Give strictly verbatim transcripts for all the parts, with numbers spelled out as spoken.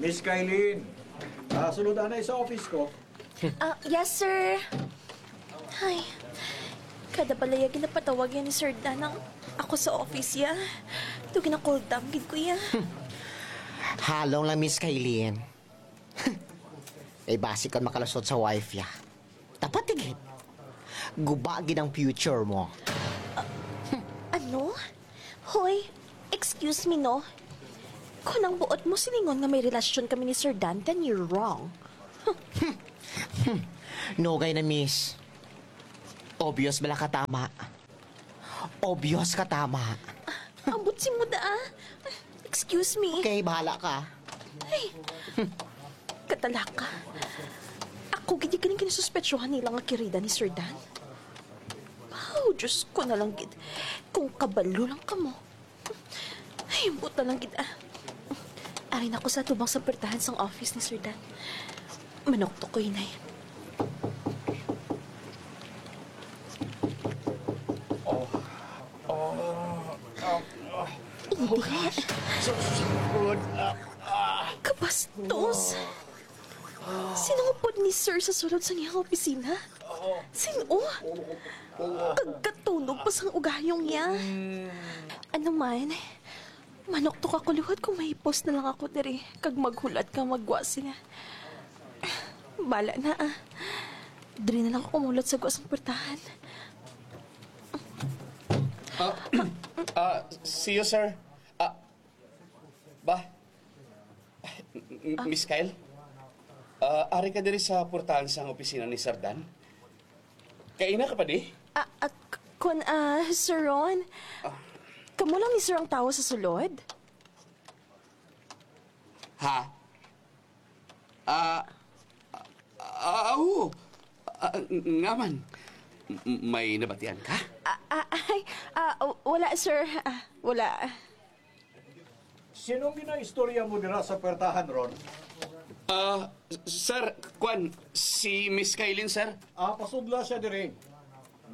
Miss Kylene, ah, sulod anay sa office ko. Ah, yes, sir. Ay, kada balay ginapatawag yan ni Sir Dan ang ako sa office ya. Ito ginakuldam gid ko ya. Halong lang, Miss Kylene. Ay, basi kon makalusot sa wife ya. Dapat tigit. Guba gid ang future mo. Ano? Hoy, excuse me, no? Kung ang buot mo silingon nga may relasyon kami ni Sir Dan, then you're wrong. Nugay na, miss. Obvious bala ka tama. Obvious ka tama. Ambot si Muda, ah. Excuse me. Okay, bahala ka. Ay, katalaka. Ako gid yung kinasuspetsyohan nila nga kirida ni Sir Dan. Oh, Diyos ko na lang gid. Kung kabalo lang kamo. Ay, buta lang gid, ah. Ari na ko sa tubang sa pertahan sang office ni Sir Dan. Manok to ko, inay. Hindi. Kabastos! Sino nga pod ni Sir sa sulod sa iyang opisina? Sino? Kagkatunog pa sang ugayong niya. Ano man, manok to ka ko liwat kung mahipos na lang ako diri kag maghulat ka magwa sila. Bala na ah. Diri na lang ako mulot sa gwa sang puertahan. Ah, ah, see you, sir. Ah, ba? M- Miss Kyle? Ah, ari ka diri sa portahan sang opisina ni Sir Dan? Kaina ka pa di? Ah, ah, k- kun, ah, Sir Ron, kamo lang ni Sir ang tawo sa sulod? Ha? Ah, ah, ah, oo. Ah, nga man. M- may nabatian ka? Ah, ah, ay, ah, w- wala, sir. Ah, wala. Sinong ginaistorya mo dira sa puwertahan, Ron? Ah, sir, kwan, si Miss Kailin, sir. Ah, pasudla siya diri.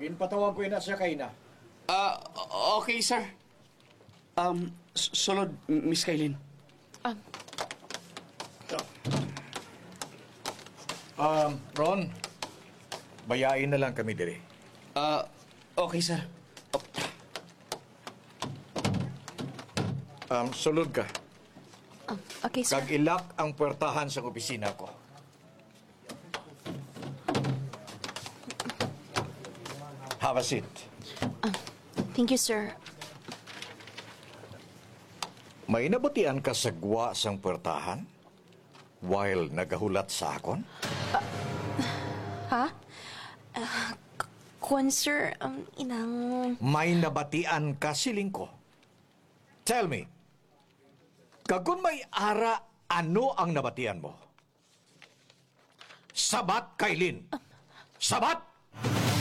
Ginpatawag ko ina siya kay na. Ah, okay, sir. Um, s- sulod, Miss Kailin. Um, Um, Ron, bayain na lang kami diri. Ah, okay, sir. Um, sulod ka. um, okay, sir. Kag ilak ang puwertahan sa opisina ko. Have a seat. Thank you, sir. May nabatian ka sa gwa sang puwertahan while nagahulat sa akon? Ha? Ah, k- kwan, sir, um, inang... May nabatian ka, siling ko. Tell me, kag kon may ara, ano ang nabatian mo? Sabat, Kailin! Sabat!